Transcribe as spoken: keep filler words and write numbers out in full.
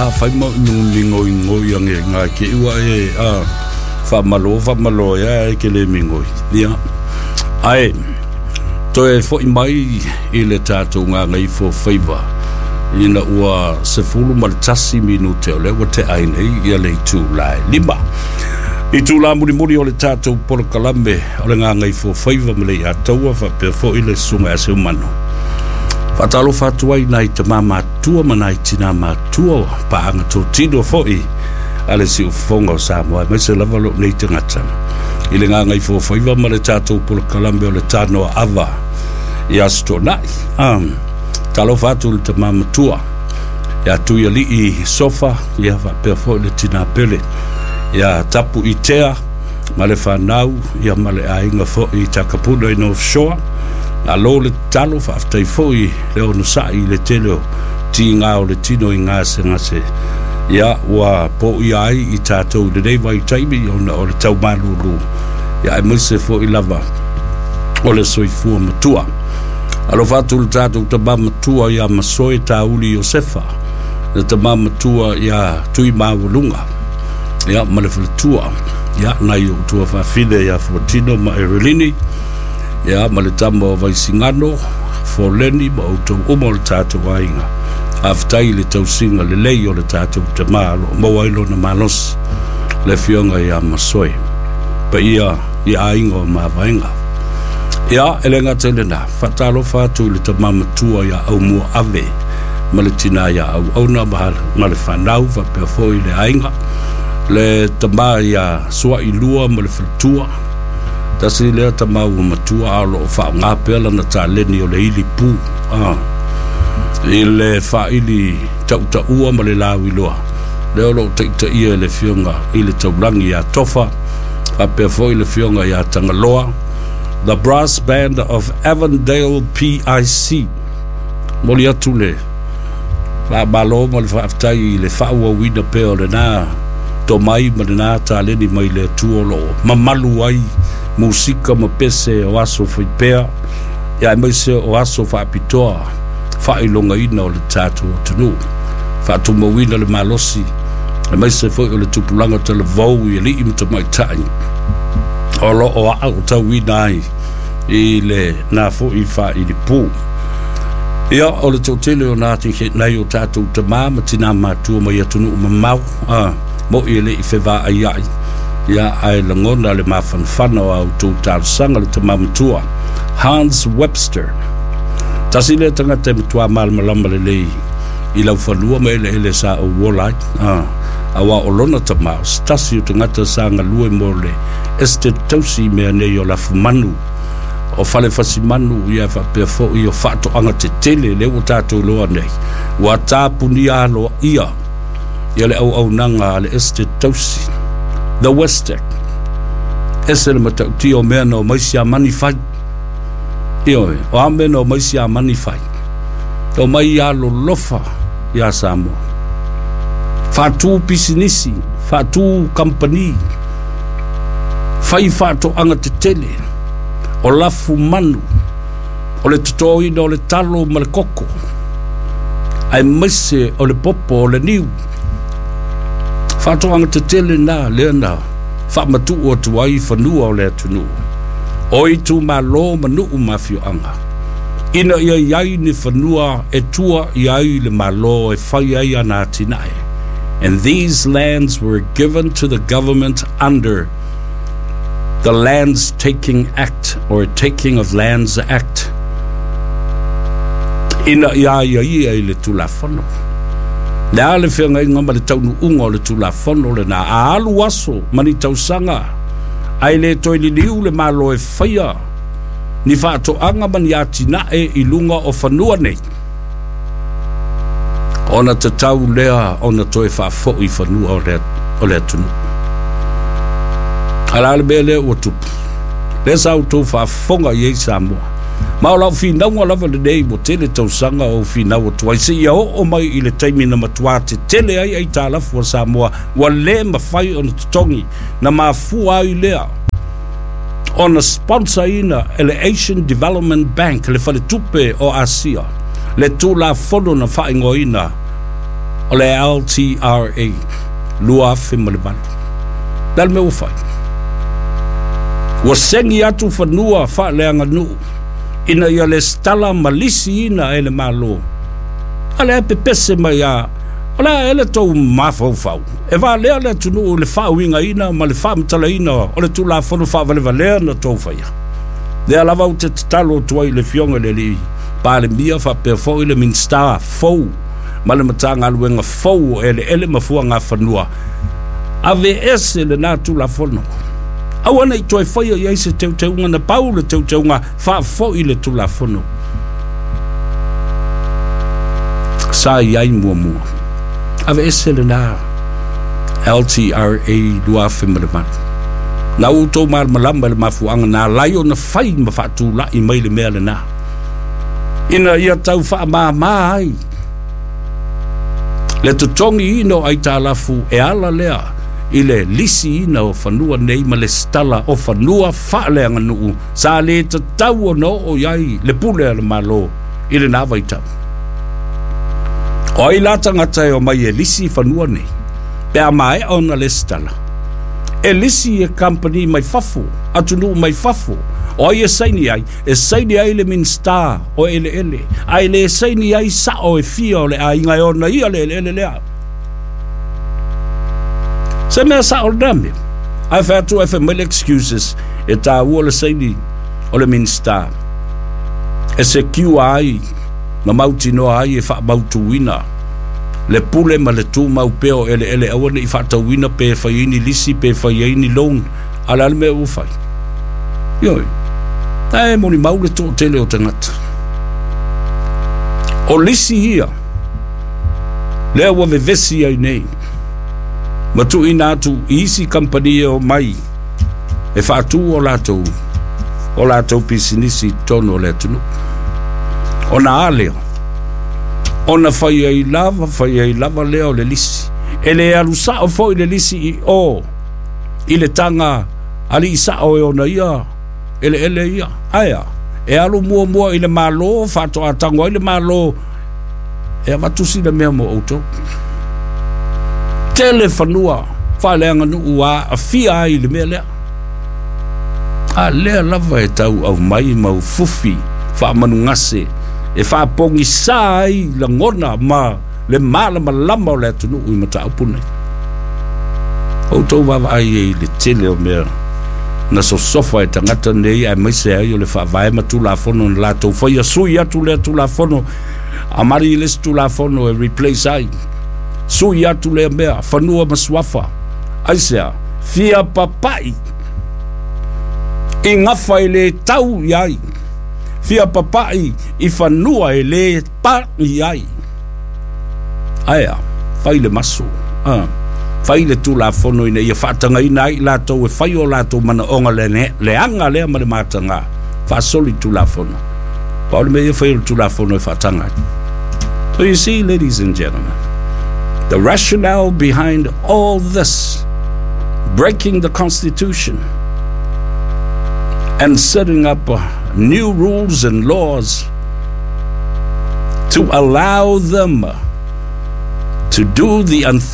Afai ma migoigoi age gakeʻi ua e a faamalo faamalo e e ke le migoi ia ae toe foʻi mai i le tatou gagaifo faiva ina ua sefulu ma le tasi minute o lea ua teʻa ai nei ia le itulā e lima itulā mulimuli o le tatou polokalame o le gagaifo faiva ma le iataua faapea foʻi le susuga ia Seumanu. Faatalofa atu ai nai tamā matua ma nai tinā matua, paaga totino foʻi a le siufofoga o Samoa, aemaise lava lou nei tagata i le gagaifo faiva ma le tatou polokalame o le tanoa ava i Aso Toonai. um, talofa atu le tamā matua ia Tuialii Sofa, ia faapea foʻi le tinā pele ia Tapu Itea ma le fanau, ia ma le aiga foʻi Takapuna i North Shore. Alo le tatalo, faafetai foʻi le onosaʻi i le tele o tigā o le tino i gasegase ia ua poʻuia ai i tatou i lenei vaitaimi ona o le taumalūlū, ia aemaise foʻi lava o le soifua matua. Alofa atu le tatou tamā matua iā Masoe Tauli Iosefa, le tamā matua iā Tuimaualuga, ia ma le faletua, ia nai ou tuafafine iā Fuatino ma Erelini, ia ma le tama o Vaisigano Foleni ma outou uma o le tatou aiga. Faafetai i le tausiga lelei o le tatou tamā o loo maua ai lona malosi, le afioga iā Masoe, paia i aiga o Mavaega. Ia e le gata i lenā, faatalofa atu i le tamā matua iā Aumua Ave ma le tinā iā Auauna ma le fanau faapea foʻi le aiga, le tamā iā Suailua ma le faletua. Tasi lea tamā ua matua a o loo faaogā pea lana taleni o le ili pu a i le faaili tautaua ma le lauiloa lea o loo taitaia e le afioga i le Taulagi iā Tofa faapea foʻi le afioga iā Tagaloa, The Brass Band of Avondale P I C. Moli atu le faamalo ma le faafetai i le faaauauina pea o lenā tomai ma lenā taleni mai le Atua o loo mamalu ai musika ma pese o aso faipea, ia aemaise o aso faapitoa faailogaina o le tatou atunuu, faatumauina le malosi aemaise foʻi o le tupulaga talavou i alii ma tamaitai o loo aaotauina ai i le nā foʻi faailipu. Ia o le toatele o nā nai o tatou tamā ma tinā matua mai atunuu mamao a moʻi e leʻi fevaaiaʻi, ia ae lagona le mafanafana o a outou talosaga. Le tamā matua Hans Webster, tasi lea tagata e matuā malamalama lelei i laufanua ma eleele sa ou ola ai a auā o lona tamā o se tasi o tagata sa galue mo le estate tausi i mea nei o lafumanu o fale fasimanu, ia faapea foʻi o faatoaga tetele lea ua tatou iloa nei ua tapunia aloaia ia le auaunaga a le estate tausi, The Westec. Ese le matautia o mea na o mai Siamani fai. Ioe, o a mea na o mai Siamani fai? O mai ia lolofa iā Samoa, faatū pisinisi, faatū kampani, fai faatoaga tetele o lafu manu, o le totoina o le talo ma le koko, aemaise o le popo o le niu. Faatoaga tetele na lea na faamatuu atu ai fanua o le atunuu o itumālō ma nuu ma afioaga ina ia iai ni fanua e tua i ai le Malo e fai ai ana atinae. And these lands were given to the government under the Lands Taking Act or Taking of Lands Act ina ia ia ia i le Tulafono le a le feagaiga ma le taunuuga o le Tulafono lenā. A alu aso ma ni tausaga ae le toe liliu le Malo e faia ni faatoaga ma ni atinae i luga o fanua nei, ona tatau lea ona toe faafoʻi fanua o le, o le atunuu. A la le mea lea ua tupu lea sa outou faafofoga i ai Samoa, ma o lau finauga lava lenei ua tele tausaga o finau atu ai seia oo mai i le taimi na matuā tetele ai aitalafu a Samoa ua lē mafai ona totogi, na mafua ai lea ona sponsorina e le Asian Development Bank, le faletupe o Asia, le Tulafono na faaigoaina O le L T R A lua afe ma le valu. Le a le mea ua fai? Ua segi atu fanua faaleaganuu ina ia lesitala ma lisiina e le Malo. A lea e pepese mai a o le a e le tou mafaufau e valea le atunuu i le faauigaina ma le faamatalaina o le Tulafono faavalevalea na tou faia. Lea lava ou te tatalo atu ai i le Afioga i le alii Palemia faapea foi le Minisita fou ma le Matagaluega fou o Eleele ma Fuagafanua, ave ese lena Tulafono. Aua nei toe faia i ai se teuteuga. Na pau le teuteuga, faafoi le Tulafono sa i ai muamua. Ave ese lena L T R A lua afe ma le valu. Na ua outou malamalama i le mafuaaga na alai ona fai ma faatulai mai le mea lena ina ia tau faamāmā ai le totogiina o aitalafu e ala lea i le lisiina o fanua nei ma lesitala o fanua faaleaganuu sa le tatau ona oo i ai le pule a le Malo i lena vaitau. O ai la tagata e omai e lisi fanua nei pe a maea ona lesitala? E lisi e kamupani mai fafo, atunuu mai fafo. O ai e saini ai? E saini ai le Minisita o Eleele, ae le saini ai sao e fia o le aiga e ona ia le eleele lea. Se mea sao lena mea? Ae fai atu ae fai mai le excuses e taua le saini o le Minisita e secure ai ma mautinoa ai e faamautuina le pule ma le tumau pea o eleele, aua nei faatauina pe fai ai ni lisi pe fai ai ni loan. A o le a le mea ua fai? Ioe, ae molimau le toatele o tagata o lisi ia lea ua vevesi ai nei ma tuuina atu i isi kamupani e omai e faatu o latou o latou pisinisi i totonu o le atunuu. Ona a lea ona fai ai lava fai ai lava lea o le lisi e le alu sao foi le lisi i o i le taga alii sao e ona ia eleele ia, ae a e alu muamua i le Malo faatoa tago ai le Malo e avatu sina mea mo outou. Tele fanua faaleaganuu a afia ai i le mea lea. A lea lava e tau aumai mau fufi faamanugase e faapogisā ai lagona ma le malamalama o le atunuu i mataupu nei. Outou vaavaai ai i le tele o mea na sosofa e tagata nei, aemaise ai o le faavae ma Tulafono na latou faia. Sui atu lea Tulafono, amari i le isi Tulafono e replace ai, sui atu lea mea. Fanua ma Suafa, aisea fia papai i gafa e le tau i ai, fia papai i fanua e le pa i ai, ae a fai le maso ah. Fai le Tulafono ina ia faatagaina ai latou e fai o latou manaoga le leaga lea ma le mataga faasoli Tulafono. Pa o le mea ia fai o le Tulafono e faataga ai. So you see, ladies and gentlemen, the rationale behind all this, breaking the Constitution and setting up uh, new rules and laws to allow them to do the unthinkable.